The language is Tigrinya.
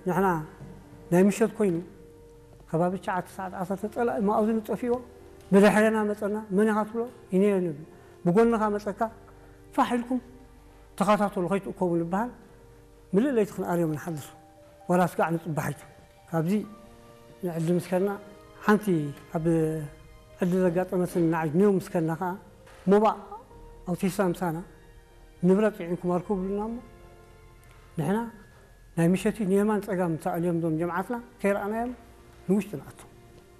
ንሕና ናይ ምሸት ኮይኑ ከባቢ ትሽዓተ ሰዓት ዓሰርተ ጸላኢ መኣዝኑ ጠፊእዎ ብድሕረና መጸና። መን ኢኻ ትብሎ? ኢነ እየ ንብል። ብጎንኻ መጸካ ፋሕ ኢልኩም ተኸታተሉ ከይትእከቡ ንበሃል። ምልእ ለይቲ ክንኣርዮም ንሓድር። ዋላ ስጋዕ ንጽባሕ ኣይቱ። ካብዚ ንዕዲ ምስከና ሓንቲ ኣብ ዕዲ ዘጋጠመትን ንዓይ ኔው ምስከና ከኣ ሞባእ ኣውቲሳ ምሳና ንብረት ጽዒንኩም ኣርኩ ብሉና እሞ ንሕና ናይ ምሸቲ ንየማን ጸጋም ተኣልዮም ዞም ጀምዓትና ከይረኣናዮም ንውሽጢ ንኣቱ።